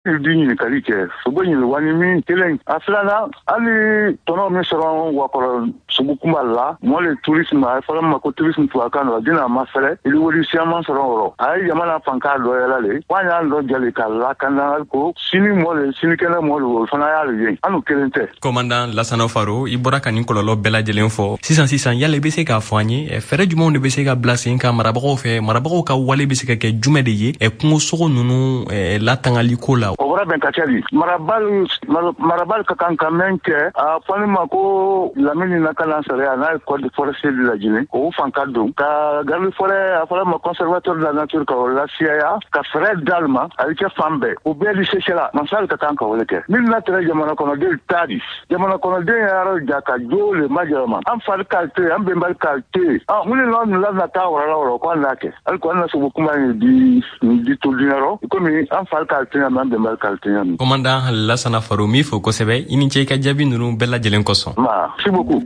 Di ɲininkali kɛ sogo ɲini wani min kelen a filanan, hali tɔnɔ min sɔrɔ wakɔrɔ sogo kunba la, mɔ le tourisme, a fɔra ma ko tourisme tubabukan na, dina ma fɛrɛ ili wari siyaman sɔrɔ wɔrɔ. A ye jamana fanka dɔ yɛlɛ le wa y'an dɔ jali ka lakana ko sini mɔ le, sinikɛnɛ mɔ le, o fana y'ale ye, an n'u kelen tɛ. Commandant Lasana Faro, i bɔra ka nin kɔlɔlɔ bɛɛ lajɛlen fɔ sisan sisan, yala i bɛ se k'a fɔ an ye, fɛɛrɛ jumɛnw de bɛ se ka bila sen kan marabagaw fɛ? Marabagaw ka wale bɛ se ka kɛ jumɛn de ye kungosogo ninnu latangali ko la? O bɔra bɛn ka kɛ di marabali ka kan ka mɛn kɛ, a fɔli ma ko lamini lakana sariya n'a ye code forestier de lajinɛ, o fan ka don ka garde forêt, a fɔra ma conservateur de la nature, ka o lasiyaya ka fɛɛrɛ d'ale ma. A bɛ kɛ fan bɛɛ, o bɛɛ di sesela masali ka kan ka wele kɛ min na tɛrɛ jamana kɔnɔden ta di jamana kɔnɔden yɛrɛ ja ka jo le majɛlɛma an fari k'a to yen, an bɛnbali k'a to yen. Mun de la nin la taa wara la wɔrɔ ko an n'a kɛ hali ko an na sogo kuma in di nin di to dunyarɔ komi an fari k'a to yen, an bɛnbali k'a to yen. Commandant Lasana Faro, min fo kosɛbɛ, i ni ce i ka jaabi ninnu bɛɛ lajɛlen kosɔn. Merci beaucoup.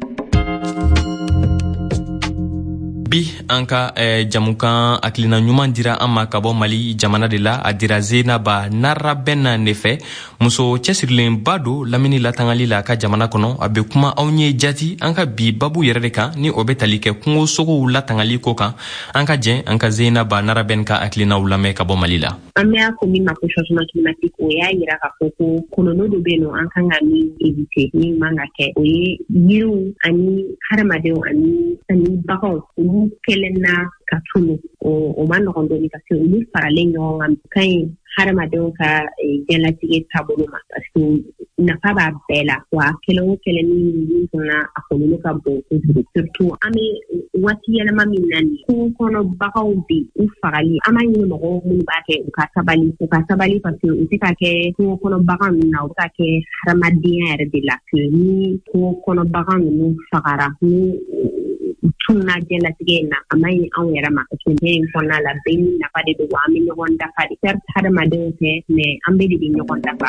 Bi an ka jamukan hakilina ɲuman dira an ma ka bɔ Mali jamana de la. A dira Zenaba Narabɛnna ne fɛ, muso cɛsirilenba don lamini latangali la a ka jamana kɔnɔ. A bɛ kuma anw ye jati an ka bi babu yɛrɛ de kan, ni o bɛ tali kɛ kungosogow latangali ko kan. An ka jɛn an ka Zenaba Narabɛn ka hakilinaw lamɛn ka bɔ Mali la. An bɛ a ko min ma ko changement climatique, o y'a yira k'a fɔ ko kɔlɔlɔ dɔ bɛ yen nɔ, an kan ka min éviter, min man ka kɛ, o ye yiriw ani hadamadenw ani baganw, olu kɛlen na ka tunu. O ma nɔgɔn dɔɔni parce que olu faralen ɲɔgɔn kan ka ɲi hadamadenw ka diɲɛlatigɛ taabolo ma, parce que nafa b'a bɛɛ la. Wa kɛlɛ o kɛlɛ min fana, a kɔlɔlɔ ka bon kojugu, surtout an bɛ waati yɛlɛma min na nin, kungo kɔnɔ baganw bɛ u fagali. An b'a ɲini mɔgɔw minnu b'a kɛ, u ka sabali, u ka sabali, parce que u tɛ ka kɛ kungo kɔnɔ bagan ninnu na, u bɛ ka kɛ hadamadenya yɛrɛ de la. Ni kungo kɔnɔ bagan ninnu fagara, ni u tununa diɲɛlatigɛ in na, a man ɲi anw yɛrɛ ma, parce que diɲɛ in kɔnɔna la, bɛɛ ni nafa de don, wa an bɛ ɲɔgɔn dafa de. Certes, hadamadenw tɛ, mais an bɛɛ de bɛ ɲɔgɔn dafa.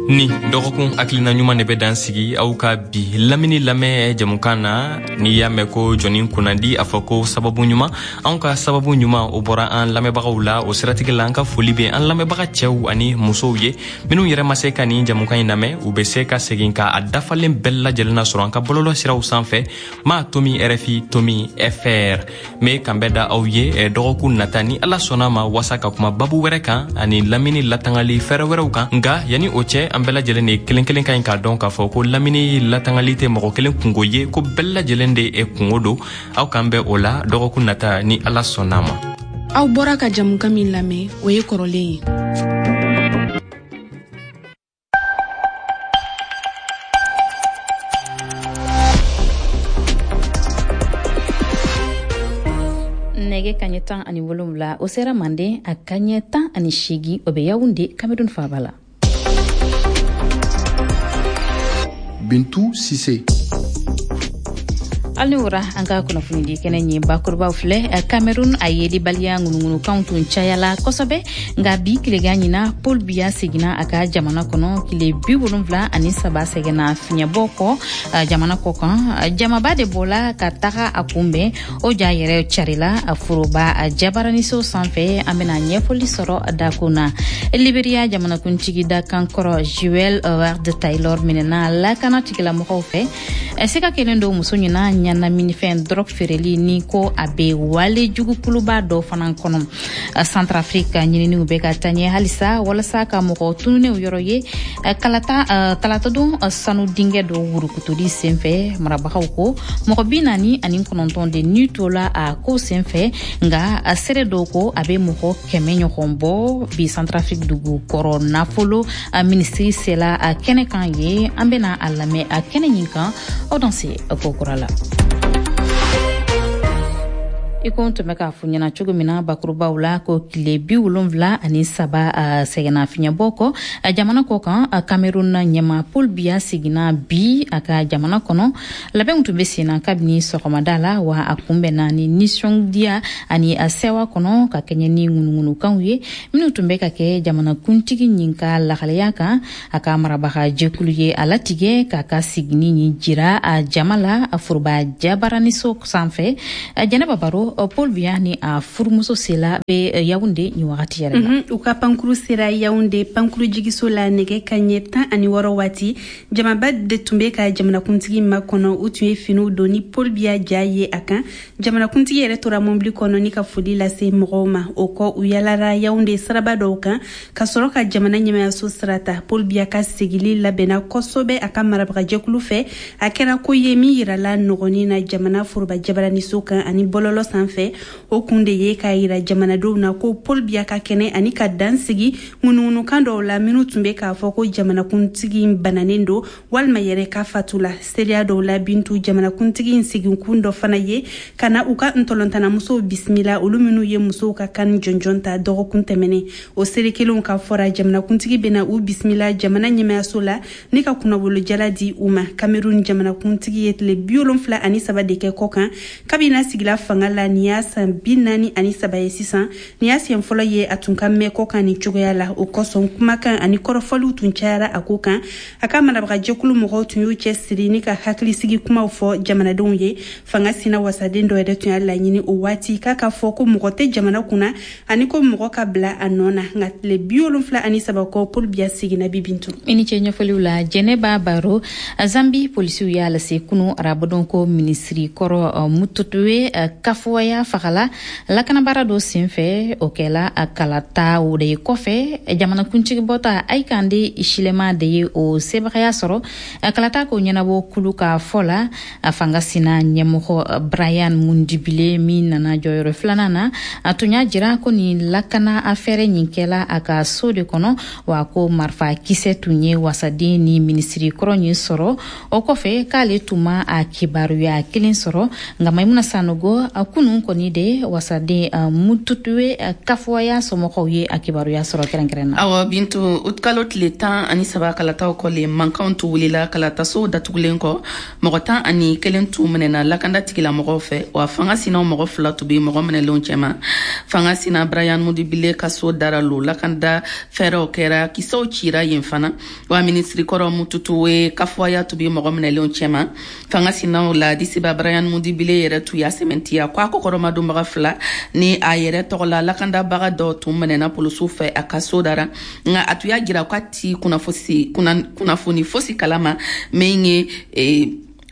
Ni dɔgɔkun hakilina ɲuman de bɛ dan sigi aw ka bi lamini lamɛn jamukan na. N'i y'a mɛn ko jɔnni kunnandi, a fɔ ko sababu ɲuman. Anw ka sababu ɲuman, o bɔra an lamɛnbagaw la. O siratigɛ la, an ka foli bɛ an lamɛnbaga cɛw ani musow ye. Minnu yɛrɛ ma se ka nin jamukan in lamɛn, u bɛ se ka segin ka a dafalen bɛɛ lajɛlen sɔrɔ an ka bɔlɔlɔ siraw sanfɛ, ma tomi RFI tomi FR. N bɛ kanbɛn da aw ye dɔgɔkun nata, ni Ala sɔnna ma, wasa ka kuma babu wɛrɛ kan ani lamini latangali fɛɛrɛ wɛrɛw kan. Nka yanni o cɛ, an bɛɛ lajɛlen de kelen kelen ka ɲi k'a dɔn k'a fɔ ko lamini latangali tɛ mɔgɔ kelen kungo ye, ko bɛɛ lajɛlen de ye kungo don. Aw k'an bɛn o la dɔgɔkun nata, ni Ala sɔnna ma. Aw bɔra ka jamukan min lamɛn, o ye kɔrɔlen ye. Nɛgɛ kaɲɛ 17, o sera Manden, a kaɲɛ 18, o bɛ Yawunde, Kamerun faaba la. Bintu Sise. Hali ni wura, an ka kunnafonidi kɛnɛ ɲi bakurubaw filɛ. Cameroun, a yelibaliya ŋunuŋunukanw tun cayala kosɛbɛ, nka bi tilegan ɲina, Paul Biya seginna a ka jamana kɔnɔ tile 73 sɛgɛnna fiɲɛbɔ kɔ jamana kɔ kan. Jamaba de bɔla ka taga a kunbɛn. O ja yɛrɛ carila foroba jabaraniso sanfɛ. An bena ɲɛfɔli sɔrɔ dakun na. Liberia jamanakuntigi dakan kɔrɔ Joel Howard Taylor minɛna lakana tigilamɔgɔw fɛ. Sika kelen don muso ɲina ɲɛnaminifɛn drogue feereli ni ko a bɛ wale jugukuluba dɔ fana kɔnɔ. Centrafrique, ɲininiw bɛ ka taa ɲɛ halisa walasa ka mɔgɔ tununnenw yɔrɔ ye kalata talatadon sanu dingɛ dɔ wurukutuli senfɛ. Marabagaw ko mɔgɔ 49 de ni tola a ko senfɛ, nka seere dɔw ko a bɛ mɔgɔ 100 ɲɔgɔn bɔ. Bi Centrafrique dugu kɔrɔ nafolo minisiri sela a kɛnɛ kan ye. An bɛna a lamɛn a kɛnɛ ɲin kan. Aw danse ko kura la. I ko n tun bɛ k'a fɔ ɲɛna cogo min na bakurubaw la, ko tile 73 sɛgɛnna fiɲɛbɔ kɔ jamana kɔ kan, Cameroun ɲɛma Paul Biya seginna bi a ka jamana kɔnɔ. Labɛnw tun bɛ sen na kabini sɔgɔmada la, wa a kunbɛnna ni nisɔndiya ani sɛwa kɔnɔ, ka kɛɲɛ ni ŋunuŋunukanw ye minnu tun bɛ ka kɛ jamanakuntigi ɲin ka lahalaya kan. A ka marabaga jɛkulu ye a latigɛ k'a ka sigini ɲin jira a jama la a foroba jabaraniso sanfɛ. Jɛnɛba Baro. Sanogo, Paul Biya ni a furumuso sela bɛ Yaounde nin wagati yɛrɛ la. U ka pankuru sera Yaounde pankuru jigiso la nɛgɛ kanɲɛ 16 waati. Jamaba de tun bɛ ka jamanakuntigi makɔnɔ. U tun ye finiw don ni Paul Biya ja ye a kan. Jamanakuntigi yɛrɛ tora mobili kɔnɔ ni ka foli lase mɔgɔw ma. O kɔ, u yalara Yaounde siraba dɔw kan ka sɔrɔ ka jamana ɲɛmayaso sira ta. Paul Biya ka segili labɛnna kosɛbɛ a ka marabagajɛkulu fɛ. A kɛra ko ye min yirala nɔgɔnin na jamana foroba jabaraniso kan ani bɔlɔlɔ sanfɛ. O kun de ye k'a yira jamanadenw na ko Paul Biya ka kɛnɛ ani ka dan sigi ŋunuŋunukan dɔw la minnu tun bɛ k'a fɔ ko jamanakuntigi bananen don walima yɛrɛ ka fatu la. Seriya dɔw la, Bintu, jamanakuntigi in seginkun dɔ fana ye ka na u ka ntɔlɔntannamusow bisimila, olu minnu ye musow ka kan jɔnjɔn ta dɔgɔkun tɛmɛnen. O seere kelenw ka fɔra, jamanakuntigi bɛna u bisimila jamana ɲɛmayaso la ni ka kunnawolojala di u ma. Cameroun jamanakuntigi ye tile 73 de kɛ kɔ kan kabini a sigila fanga la. Nin y'a san 43 ye sisan. Nin y'a siɲɛ fɔlɔ ye a tun ka mɛn kɔ kan nin cogoya la. O kosɔn, kumakan ani kɔrɔfɔliw tun cayara a ko kan. A ka marabagajɛkulu mɔgɔw tun y'u cɛ siri ni ka hakilisigi kumaw fɔ jamanadenw ye. Fanga sina wasaden dɔ yɛrɛ tun y'a laɲini o waati k'a ka fɔ ko mɔgɔ tɛ jamana kunna ani ko mɔgɔ ka bila a nɔ na. Nka tile 73 kɔ, Paul Biya seginna bi, Bintu. I ni ce ɲɛfɔliw la, Jɛnɛba Baro. Zambi polisiw y'a lase kunu arabadon ko minisiri kɔrɔ Mututuwe Kafuwaya fagala lakanabaara dɔ senfɛ. O kɛla kalata o de kɔfɛ. Jamanakuntigi bɔta Hakainde Hichilema de ye o sebagaya sɔrɔ kalata ko ɲɛnabɔ kulu ka fɔ la. A fanga sina ɲɛmɔgɔ Brian Mundibile, min nana jɔyɔrɔ filanan na, a tun y'a jira ko nin lakana afɛrɛ nin kɛla a ka so de kɔnɔ, wa ko marifa kisɛ tun ye wasaden ni minisiri kɔrɔ nin sɔrɔ. O kɔfɛ, k'ale tun ma a kibaruya kelen sɔrɔ. Nka Maimuna Sanogo, a kunun kɔni de wasaden Mututuwe Kafuwaya somɔgɔw ye a kibaruya sɔrɔ kɛrɛnkɛrɛn na. Awɔ Bintu, utikalo tile 13 kalataw kɔlen, mankanw tun wulila kalatasow datugulen kɔ. Mɔgɔ 11 tun minɛna lakanda tigilamɔgɔw fɛ, wa fanga sinaw mɔgɔ fila tun bɛ mɔgɔ minɛlenw cɛma. Fanga sina Brian Mudibile ka so dara lo, lakanda fɛɛrɛw kɛra, kisɛw cira yen fana, wa minisiri kɔrɔ Mututuwe Kafuwaya tun bɛ mɔgɔ minɛlenw cɛma. Fanga sinaw la disiba Brian Mudibile yɛrɛ tun y'a sɛmɛntiya ko a kɔkɔrɔmadonbaga fila ni a yɛrɛ tɔgɔla lakandabaga dɔ tun minɛna polisiw fɛ a ka so dara. Nka a tun y'a jira k'a ti kunnafoni fosi kalama min ye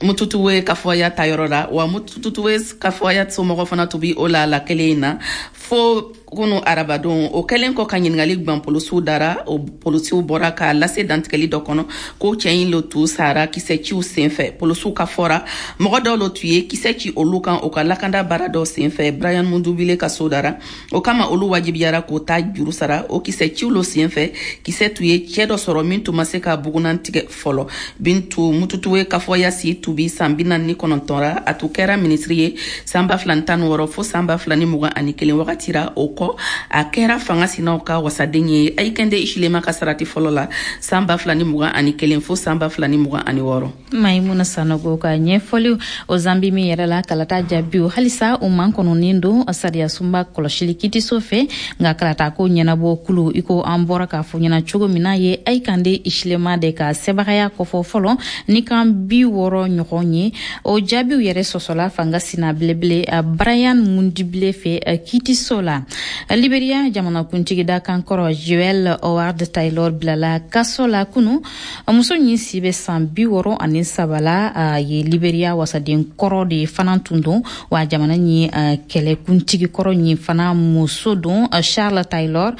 Mututuwe Kafuwaya ta yɔrɔ la. Wa Mututuwe Kafuwaya somɔgɔ fana tun bi o la la kelen in na fo kunu arabadon. O kɛlen kɔ ka ɲiningali gwan polisiw dara, o polisiw bɔra k'a lase dantigɛli dɔ kɔnɔ ko cɛ in lo tun sara kisɛciw sen fɛ. Polisiw ka fɔra, mɔgɔ dɔw lo tun ye kisɛ ci olu kan o ka lakanda baara dɔw sen fɛ Brian Mundubile ka so dara. O kama, olu wajibiyara k'o ta juru sara. O kisɛciw lo sen fɛ, kisɛ tun ye cɛɛ dɔ sɔrɔ min tun ma se ka bugunan tigɛ fɔlɔ. Bintu, Mututuwe Kafuwaya si tun bi san 49 ra. A tun kɛra minisiri ye san 2016 fo san 2021 wagati ra. O kɔ, a kɛra fanga sinaw ka wasaden ye Hakainde Hichilema ka sarati fɔlɔ la san 2021 fo san 2026. Maimuna Sanogo ka ɲɛfɔliw. O Zambi min yɛrɛ la, kalata jaabiw halisa u man kɔnɔnin don sariya sunba kɔlɔsili kitiso fɛ. Nka kalata ko ɲɛnabɔ kulu, i ko an bɔra k'a fɔ ɲɛna cogo min na, ye Hakainde Hichilema de ka sɛbagaya kɔfɔ fɔlɔ ni kan 60 ɲɔgɔn ye. O jaabiw yɛrɛ sɔsɔla fanga sina belebele Brian Mundibile fɛ kitiso la. Liberia jamanakuntigi dakan kɔrɔ Joel Howard Taylor bilala kaso la kunu. Muso ɲin si bɛ san 63 la, ye Liberia wasaden kɔrɔ de fana tun don, wa jamana ɲi kɛlɛkuntigi kɔrɔ ɲin fana muso don, Charles Taylor,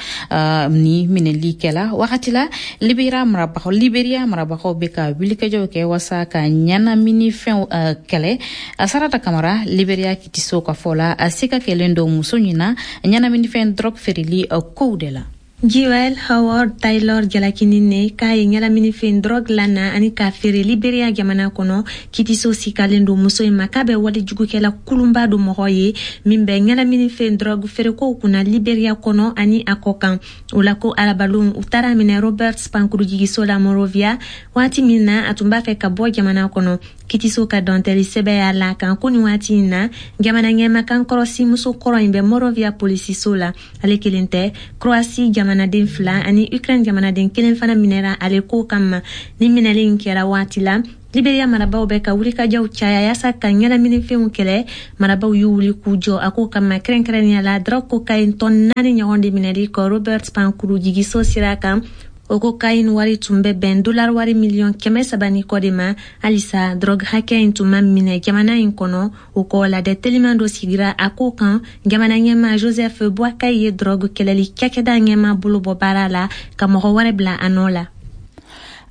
ni minɛli kɛla wagati la Liberia marabagaw bɛ ka wulikajɔw kɛ wasa ka ɲɛnamini fɛnw kɛlɛ. Sarata Kamara, Liberia kitiso ka fɔ la, a se ka kɛlen don muso ɲina ɲɛnaminifɛn drogue feereli kow de la. Joel Howard Taylor jalakinin ne k'a ye ɲɛnaminifɛn drogue lana ani k'a feere Liberia jamana kɔnɔ. Kitiso sikalen don muso in ma k'a bɛ walejugukɛla kulunba do mɔgɔ ye min bɛ ɲɛnaminifɛn drogue feerekow kunna Liberia kɔnɔ ani a kɔ kan. O la ko arabalon, u taara minɛ Roberts pankurujigiso la Monrovia waati min na a tun b'a fɛ ka bɔ jamana kɔnɔ. Kitiso ka dɔntɛli sɛbɛ y'a la kan ko nin waati in na, jamana ɲɛmakan kɔrɔsi muso kɔrɔ in bɛ Monrovia polisiso la. Ale kelen tɛ, Croatie jamanaden fila ani Ukraine jamanaden kelen fana minɛra ale ko kama. Ni minɛli in kɛra waati la Liberia marabaw bɛ ka wulikajɔw caya yaasa ka ɲɛnaminifɛnw kɛlɛ. Marabaw y'u wuli k'u jɔ a ko kama, kɛrɛnkɛrɛnnenya la drogue cocaïne tɔn 4 ɲɔgɔn de minɛli kɔ Robert pankuru jigiso sira kan. O cocaïne wari tun bɛ bɛn dollar wari 300 miliyɔn ni kɔ de ma. Halisa drogue hakɛ in tun ma minɛ jamana in kɔnɔ. O kɔ, ladɛ teliman dɔ sigira a ko kan. Jamana ɲɛma Joseph Boakai ye drogue kɛlɛli cakɛda ɲɛma bolo bɔ baara la ka mɔgɔ wɛrɛ bila a nɔ la.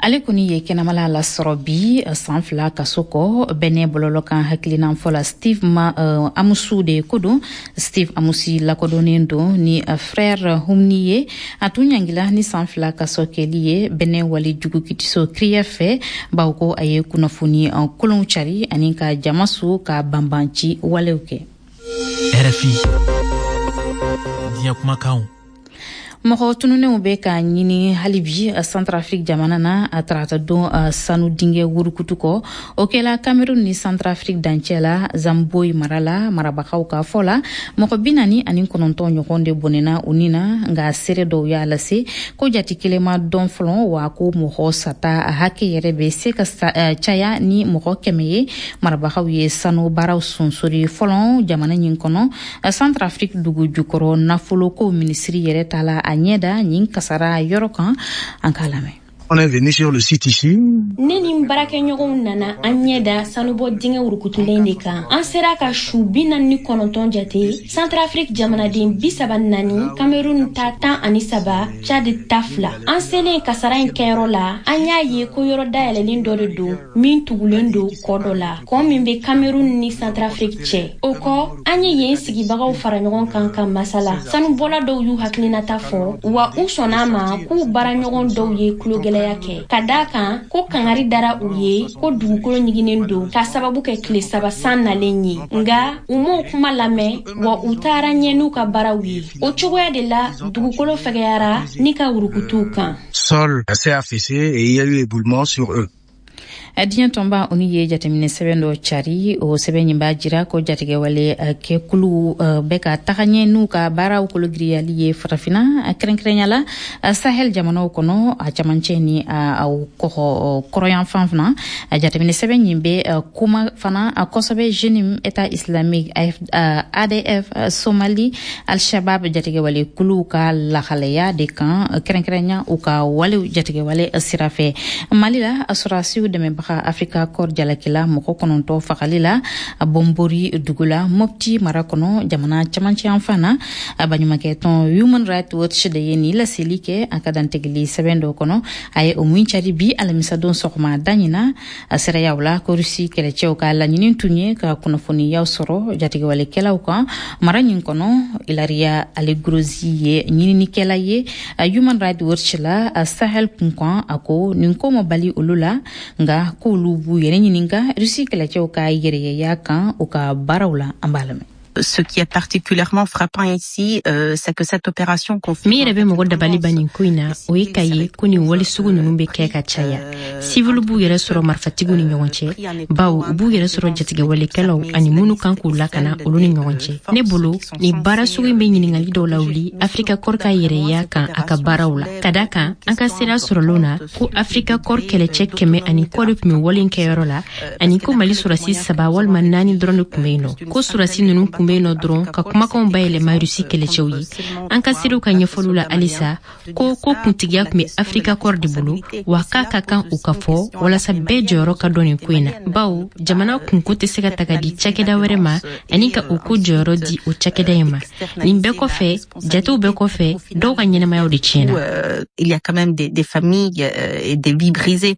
Ale kɔni ye kɛnɛmala lasɔrɔ bi san 2 kaso kɔ bɛnɛ bɔlɔlɔ kan hakilinan fɔ la. Steve ma Amusu de ko don. Steve Amusi lakodɔnnen don ni Frère Humni ye. A tun ɲangila ni san 2 kaso kɛli ye bɛnɛ wali jugukitiso CRIEF fɛ, bawo ko a ye kunnafoni kolonw cari ani ka jama su ka banbanci walew kɛ. RFI, diɲɛ kumakanw. Mɔgɔ tununenw bɛ ka ɲini halibi Centrafrique jamana na a tarata don sanu dingɛ wurukutu kɔ. O kɛla Cameroun ni Centrafrique dancɛ la, Zamboyi mara la. Marabagaw ka fɔ la, mɔgɔ 49 ɲɔgɔn de bɔnɛna u ni na, nka seere dɔw y'a lase ko jati kelen ma dɔn fɔlɔ, wa ko mɔgɔ sata hakɛ yɛrɛ bɛ se ka caya ni mɔgɔ 100 ye. Marabagaw ye sanu baaraw sonsori fɔlɔ jamana ɲin kɔnɔ. Centrafrique dugu jukɔrɔ nafoloko minisiri yɛrɛ ta la a ɲɛda nin kasara yɔrɔ kan. An k'a lamɛn. On est venu sur le site ici. Ne ni n baarakɛɲɔgɔnw nana an ɲɛ da sanubɔ dingɛ wurukutulen de kan. An sera ka su 49 jate: Centrafrique jamanaden 34, Cameroun ta 13, Tchad ta fila. An selen kasara in kɛyɔrɔ la, an y'a ye ko yɔrɔ dayɛlɛlen dɔ de don min tugulen don kɔ dɔ la, kɔ min bɛ Cameroun ni Centrafrique cɛ. O kɔ, an ye yen sigibagaw fara ɲɔgɔn kan ka masala. Sanubɔla dɔw y'u hakilinata fɔ, wa u sɔnna a ma k'u baaraɲɔgɔn dɔw ye tulogɛlɛya kɛ, ka daa kan ko kangari dara u ye ko dugukolo ɲiginen don k'a sababu kɛ tile 3 san nalen ye, nga u m'o kuma lamɛn, wa u taara ɲɛ n'u ka baaraw ye. O cogoya de la dugukolo fɛgɛyara ni ka wurukutuw kan. Sol s'est affaissé et il y a eu éboulement sur eux. Diɲɛ tɔnba onu ye jateminɛ sɛbɛn dɔ cari. O sɛbɛn ɲin b'a jira ko jatigɛwale kɛkulu bɛ ka taga ɲɛ n'u ka baaraw kologiriyali ye Farafina, kɛrɛnkɛrɛnya la Sahel jamanaw kɔnɔ, a camancɛ ni a kɔgɔ kɔrɔyanfan fana. Jateminɛ sɛbɛn ɲin bɛ kuma fana kosɛbɛ JNIM, État islamique, ADF Somali, Al-Shabab jatigɛwale kuluw ka lahalaya de kan, kɛrɛnkɛrɛnya u ka walew jatigɛwale sira fɛ. Mali la, sɔrɔdasiw dɛmɛbaga Africa Corps jalakila mɔgɔ 9 fagali la Bɔnbori dugu la, Mopti mara kɔnɔ, jamana camancɛ yanfan na. Baɲumankɛ tɔn Human Rights Watch de ye nin laseli kɛ a ka dantigɛli sɛbɛn dɔ kɔnɔ, a ye o min cari bi alamisadon sɔgɔma da ɲina. A sirayaw la ko Rusi kɛlɛcɛw ka laɲini tun ye ka kunnafoniyaw sɔrɔ jatigɛwalekɛlaw kan mara ɲin kɔnɔ. Ilaria Allegrozzi ye ɲininikɛla ye Human Rights Watch la Sahel kunkan. A ko nin ko ma bali olu la, nga k'olu b'u yɛrɛ ɲininka Rusi kɛlɛcɛw ka yɛrɛyɛya kan u ka baaraw la. An b'a lamɛn. Ce qui est particulièrement frappant ici, c'est que cette opération. Min yɛrɛ bɛ mɔgɔ dabali ban nin ko in na, o ye k'a ye ko nin wale sugu ninnu bɛ kɛ ka caya. Siviliw b'u yɛrɛ sɔrɔ marifatigiw ni ɲɔgɔn cɛ, bawo u b'u yɛrɛ sɔrɔ jatigɛwalekɛlaw ani minnu kan k'u lakana, olu ni ɲɔgɔn cɛ. Ne bolo, nin baara sugu in bɛ ɲiningali dɔw lawuli Africa Corps ka yɛrɛya kan a ka baaraw la, ka da kan an ka sira sɔrɔlenw na ko Africa Corps kɛlɛcɛ 100 ani kɔ de tun bɛ wale kɛyɔrɔ la, ani ko Mali sɔrɔdasi saba walima naani dɔrɔn de tun bɛ yen nɔ, ko sɔrɔdasi ninnu tun bɛ yen nɔ dɔrɔn ka kumakanw bayɛlɛma Rusi kɛlɛcɛw ye. An ka seerew ka ɲɛfɔliw la halisa, ko kuntigiya tun bɛ Africa Corps de bolo, wa k'a ka kan o ka fɔ walasa bɛɛ jɔyɔrɔ ka dɔn nin ko in na, bawo jamana kunko tɛ se ka ta ka di cakɛda wɛrɛ ma ani ka o ko jɔyɔrɔ di o cakɛda in ma. Nin bɛɛ kɔfɛ, jatew bɛɛ kɔfɛ, dɔw ka ɲɛnamayaw de tiɲɛna. Il y a quand même des familles et des vies brisées.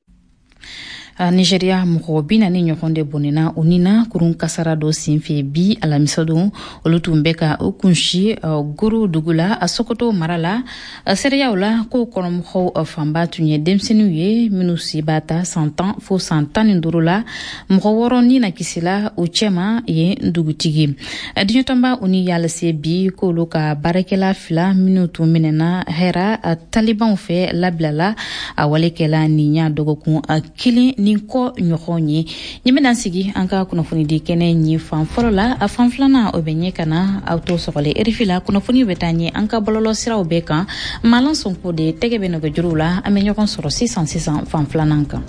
Nigeria, mɔgɔ 40 ɲɔgɔn de bɔnɛna u ni na kurun kasara dɔ senfɛ bi alamisadon. Olu tun bɛ ka o kunsi Goro dugu la, a Sokoto mara la. Seereyaw la ko kɔnɔmɔgɔw fanba tun ye denmisɛnninw ye minnu si b'a ta san 10 fo san 15 la. Mɔgɔ wɔɔrɔ ni na kisila u cɛma yen dugutigi. Diɲɛtɔnba ONU y'a lase bi k'olu ka baarakɛla fila minnu tun minɛna hɛra talibanw fɛ labilala. A wale kɛla nin ɲa dɔgɔkun kelen ni kɔ ɲɔgɔn ye. Nin bɛna sigi an ka kunnafonidi kɛnɛ ɲi fan fɔlɔ la. A fan filanan, o bɛ ɲɛ ka na aw to sɔgɔlen RFI la. Kunnafoni bɛ taa ɲɛ an ka bɔlɔlɔ siraw bɛɛ kan. Malan Sonko de tɛgɛ bɛ nɛgɛjuruw la. An bɛ ɲɔgɔn sɔrɔ sisan sisan fan filanan kan.